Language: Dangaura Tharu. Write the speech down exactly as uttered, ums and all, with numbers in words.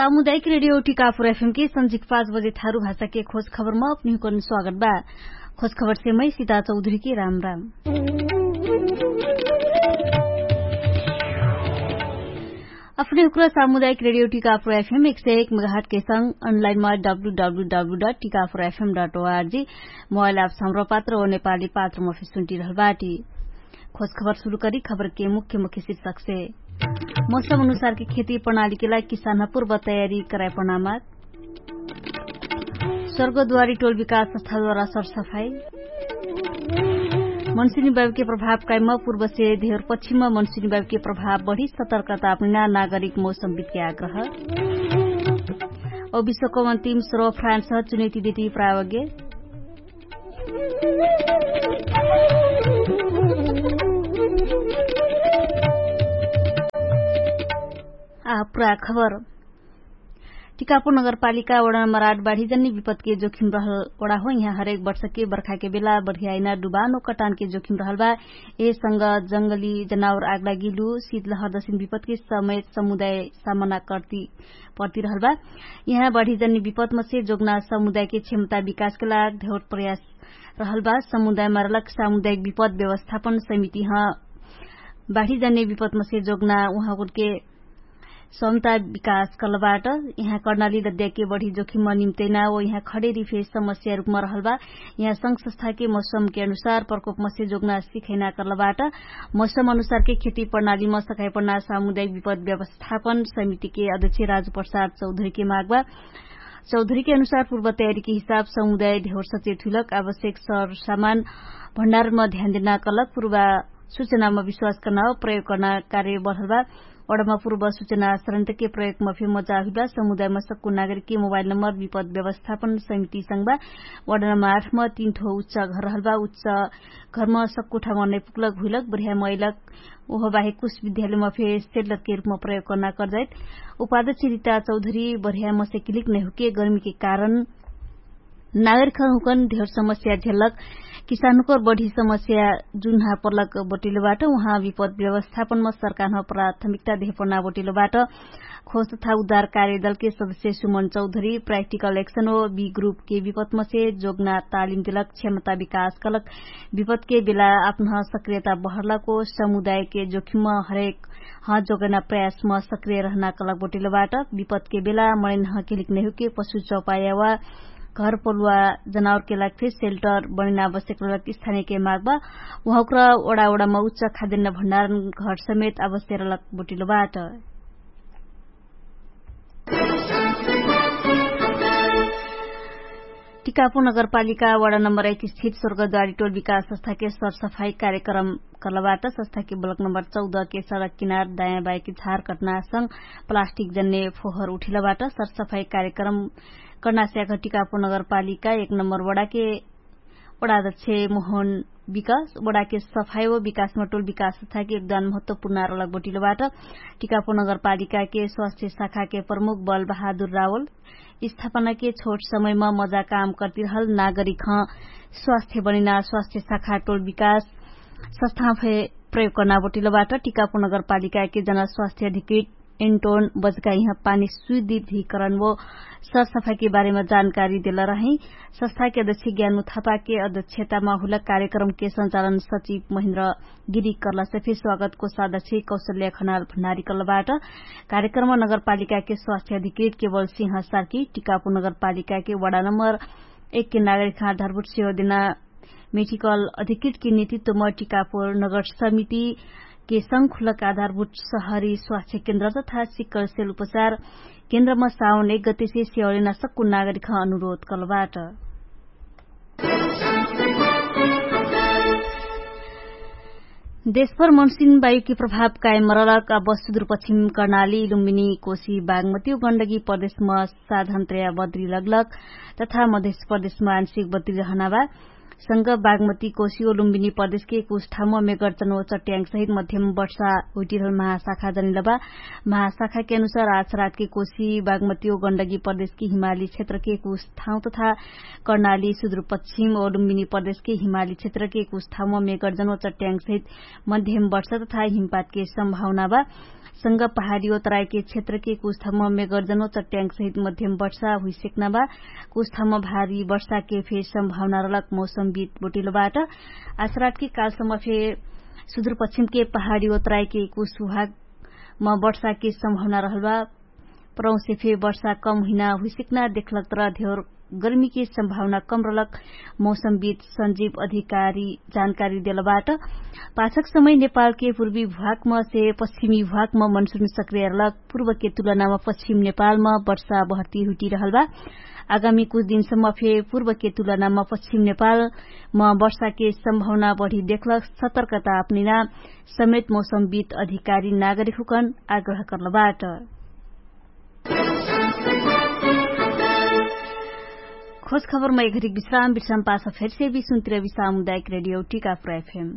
सामुदायिक रेडियो टिकापुर एफएम के सन्झिक पाँच बजे थारु भाषा के खोज खबर म अपनिहुकन स्वागत बा। खोज खबर से मै सीता चौधरी के राम राम। अपने हुक्र सामुदायिक रेडियो टिकापुर एफएम एक सय एक मेगाहट के संग अनलाइन मा W W W dot Tikapur FM dot ORG mobile app संग्रह पात्र ओ नेपाली पात्र म फिसुन्टी रहल बाटी। खोज खबर सुरु करी खबर के मुख्य मुख्य शीर्षक से। मौसम अनुसार के खेती प्रणाली के लागि किसान पूर्व तयारी कराए प्रणामा। स्वर्गद्वारी टोल विकास संस्थाद्वारा सरसफाई। मनसुनी बाबके प्रभाव काइम पूर्व से धेर पश्चिम मनसुनी बाबके प्रभाव बढी सतर्कता अपनिना नागरिक मौसम विद्या आग्रह। औ विश्वको अन्तिम स्रो फ्रान्स चुनैती देती प्रावग्य। आ पुरा खबर। टिकापुर नगरपालिका वडा नम्बर आठ बाढीजन्य विपदके जोखिम रहल वडा हो। यहाँ हरेक वर्षके बर्खाके बेला बढियाइना डुबानो कटानके जोखिम रहल बा। एहे संग जंगली जनावर आगलागिलु शीतलहर दसिन विपदके समेत समुदाय सामना कर्ती पर्ती रहल बा। यहाँ बाढीजन्य विपदमसे जोगना समुदायके क्षमता विकासके लाग धेउट प्रयास रहल बा। समुदायमा रहलक सामुदायिक विपद व्यवस्थापन समिति ह बाढीजन्य विपदमसे जोगना उहाँके क्षमता विकास कर्लबाट। यहाँ कर्णाली दद्याके बढी जोखिम निम्तैना ओ यहाँ खडेरी फे समस्या रुपमा रहल बा। यहाँ संग संस्थाके मौसमके अनुसार प्रकोपमसे जोगना सिखैना कर्लबाट। मौसम अनुसारके खेती प्रणालीमा सकाइपण्ना सामुदायिक विपद व्यवस्थापन समितिके अध्यक्ष राजु प्रसाद चौधरीके मागबा। चौधरीके अनुसार पूर्व तयारीके हिसाब समुदाय ढेउर सचेत हुइलक आवश्यक सर सामान भण्डारमा ध्यान देना कलक पूर्व सुचनामा विश्वास कर्ना प्रयोग कर्ना कार्य बढल बा। वडमा पूर्व सुचना सरन्तके प्रयोगमा फे मजा हुइबा समुदायमा सक्कु नागरिकके मोबाइल नम्बर विपद व्यवस्थापन समिति संगबा। वडा नम्बर आठमा तीन ठो उच्च घर रहल बा उच्च घरमा सक्कु ठामा नैपुकलक हुइलक बढिया मैलक। ओहो बाहेक कुछ विद्यालयमा फे सेल्लरके रुपमा प्रयोग कर्ना कर्जाइत। उपाध्यक्ष रिता चौधरी बढिया मसे किलिक नैहुके गर्मीके कारण नागरिकहुँकन धेर समस्या झेल्लक किसानहुँकर बढी समस्या जुन्हा पर्लक बटिलोबाट उहाँ विपद व्यवस्थापनमा सरकारह प्राथमिकता धेपना बटिलोबाट। खोज तथा उद्धार कार्यदलके सदस्य सुमन चौधरी प्राइक्टिकल एक्सन ओ बी ग्रुपके विपदमसे जोगना तालिम देलक क्षमता विकास कलक विपदके बेला आपनह सक्रियता बहरलक ओ समुदायके जोखिम हरेक ह जोगना प्रयासमा सक्रिय रहना कलक बटिलोबाट। विपदके बेला मणिनह केलिक नैहुके पशु चौपाया वा घर पलुवा जनावरके लागि फेर सेल्टर बनिन आवश्यक रहलक स्थानीयके मागबा। उहाँक्र ओडा ओडामा उच्च खाद्यन्न भण्डारण घर समेत आवश्यक रहलक बटिलोबाट। टिकापुर नगरपालिका वडा नम्बर एक स्थित स्वर्गद्वारी टोल विकास संस्थाके सरसफाई कार्यक्रम कर्लबाट संस्थाके ब्लक नम्बर चौदह के सडक किनार दायाँ बाइकी झार कटनासंग प्लास्टिक जन्ने फोहर उठिलबाट सरसफाई कार्यक्रम कर्नास्याक टिकापुर नगरपालिका एक नम्बर वडाके वडाध्यक्ष मोहन विकास वडाके सफाई व विकासमा टोल विकास संस्थाके योगदान महत्वपूर्ण आरोलक बटिलोबाट। टिकापुर नगरपालिकाके स्वास्थ्य शाखाके प्रमुख बल बहादुर रावल स्थापनाके छोट समयमा मजा काम कर्तिरहल नागरिकह स्वास्थ्य बनिना स्वास्थ्य शाखा टोल विकास संस्थाफे प्रयोग कर्ना बटिलोबाट। टिकापुर नगरपालिकाके जना स्वास्थ्य अधिकृत एन्टोन बजकाइह पानी सुधिधिकरण वो सरसफाइके बारेमा जानकारी देलरहै। संस्थाके अध्यक्ष ज्ञानु थापाके अध्यक्षतामा हुलक कार्यक्रमके सञ्चालन सचिव महेन्द्र गिरी कर्लासे फे स्वागतको सादछे कौशल्या खनाल भण्डारी कर्लबाट। कार्यक्रममा नगरपालिकाके स्वास्थ्य अधिकृत केवल सिंह सार्की टिकापुर नगरपालिकाके वडा नम्बर एकके नागरिकहाँ धरबुट सेवा देना मेटिकल अधिकृतके नेतृत्वमा टिकापुर नगर समितिके संग खुलक आधारभूत सहरी स्वास्थ्य केन्द्र तथा सिक्कल सेल उपचार केन्द्रमा साउन एक गतिसे सेवा लेना सक्कु नागरिकहाँ अनुरोध कर्लबाट। देशभर मनसिन वायुकी प्रभाव कायम मरलक अब सुदुरपश्चिम कर्णाली लुम्बिनी कोशी बागमती गण्डकी प्रदेशमा साधन त्रया बद्री लगलक तथा मधेश प्रदेशमा आंशिक बद्री रहना बा। संग बागमती कोशी ओ लुम्बिनी प्रदेशके कुछ ठाउँमा मेगर्जन ओ चट्याङ्ग सहित मध्यम वर्षा हुइटिरहल महाशाखा जनिलबा। महाशाखाके अनुसार आज रातके कोशी बागमती ओ गण्डगी प्रदेशके हिमाली क्षेत्रके कुछ ठाउँ तथा कर्णाली सुदुरपश्चिम ओ लुम्बिनी प्रदेशके हिमाली क्षेत्रके कुछ ठाउँमा मेगर्जन ओ चट्याङ्ग सहित मध्यम वर्षा तथा हिमपातके सम्भावनाबा। संग पहाडी ओ तराइके क्षेत्रके कुछ ठाउँमा मेगर्जन ओ चट्याङ्ग सहित मध्यम वर्षा हुइसेक्नाबा। कुछ ठाउँमा भारी वर्षाके फेर सम्भावना रहलक मौसमविद बोटिलोबाट। आसरातके कालसम्म फेर सुदुरपश्चिमके पहाडी ओ तराइके कुछ हुहाकमा वर्षाके सम्भावना रहलबा। परौसे फेर वर्षा कम हुइना हुइसेक्ना देखलक तर धेर गर्मीके सम्भावना कम रहलक मौसमविद सञ्जीव अधिकारी जानकारी देलबाट। पाछक समय नेपालके पूर्वी भुवाकमसे पश्चिमी भुवाकम मनसुन सक्रियरलक पूर्वके तुलनामा पश्चिम नेपालमा वर्षा बहर्ती हुइटिरहलबा। आगामी कुछ दिनसम्म फेर पूर्वके तुलनामा पश्चिम नेपालमा वर्षाके सम्भावना बढी देखलक सतर्कता अपनिना समेत मौसमविद अधिकारी नागरिकहुकन आग्रह कर्लबाट। खोज खबरमा एघरिक विश्राम विश्राम पाछ फेरसे विश्राम सामुदायिक रेडियो टिका प्रयफेम।